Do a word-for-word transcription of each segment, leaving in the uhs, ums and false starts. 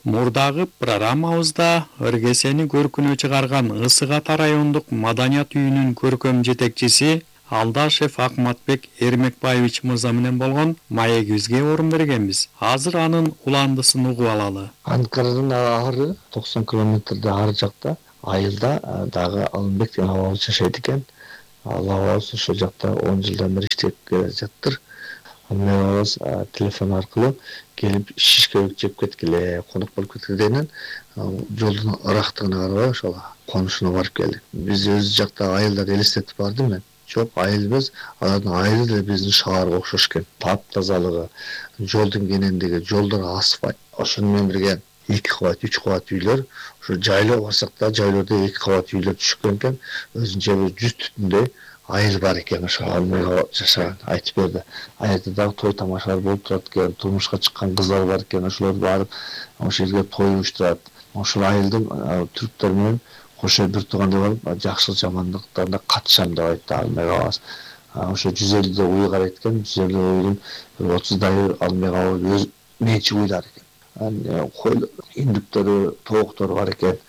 Мурдагы программабызда ыргесени көркүнө чыгарган Ысык Ата райондук маданият үйүнүн көркөм жетекчиси Алдашев Акматбек Эрмекбаевич мырза менен болгон маегибизге орун бергенбиз. Азыр анын уландысын угуп алалы. Анкарадан ары токсон километрде ары жакта айылда дагы Алымбек деген абабыз жашайт экен. Ал абабыз ошол жакта он жылдан бери иштеп келе жатыр. Мен абабыз телефон аркылуу келип шишке жеп кеткиле, конок болуп кеткиле дегенен жолдун ырактыгына карабай ошол конушуна барып келдик. Биз өз жакта айылдарды элестетип бардым мен. Жок, айыл эмес, алардын айылы деле биздин шаарга окшош экен. Таптазалыгы, жолдун кенендиги, жолдор асфальт. Ошону менен бирге эки кабат, үч кабат үйлөр, ошо жайлоо барсак да жайлоодо эки кабат үйлөр түшкөн экен. Өзүнчө бир жүз түтүндөй айыл бар экен, ошо жашаган айтып берди. Аерде дагы той тамашалар болуп турат экен, турмушка чыккан кыздар бар экен, ошолор барып ошол жерге той уюштурат. Ошол айылдын түрктөр менен кошо бир туугандай болуп, жакшылык жамандыктарына катышам деп айтты Алымбек абабыз. Ошо жүз элүү уй карайт экен, жүз элүү уйдун бир отуздай Алымбек абабыз өз менчик уйлар экен. Койлор, индүктөрү, тооктору бар экен.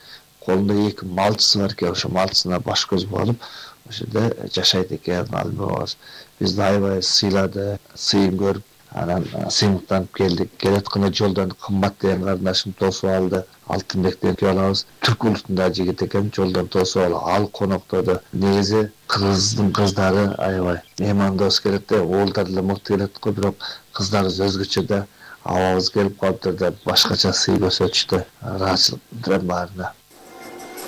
Колунда эки малчысы бар экен, ошо малчысына баш көз болуп, ошол жерде жашайт экен Алымбек абабыз. Бизди аябай сыйлады, сыйын көрүп, анан сыймыктанып келдик. Келатканда жолдон кымбат деген карындашым тосуп алды. Алтынбек деген балабыз түрк улутундагы жигит экен, жолдон тосуп алып, ал коноктоду. Негизи кыздын кыздары аябай меймандос келет да, уулдар деле мыкты келет го, бирок кыздарыбыз өзгөчө да. Абабыз келип калыптыр деп башкача сый көрсөтүштү. Ыраазычылык билдирем баарына.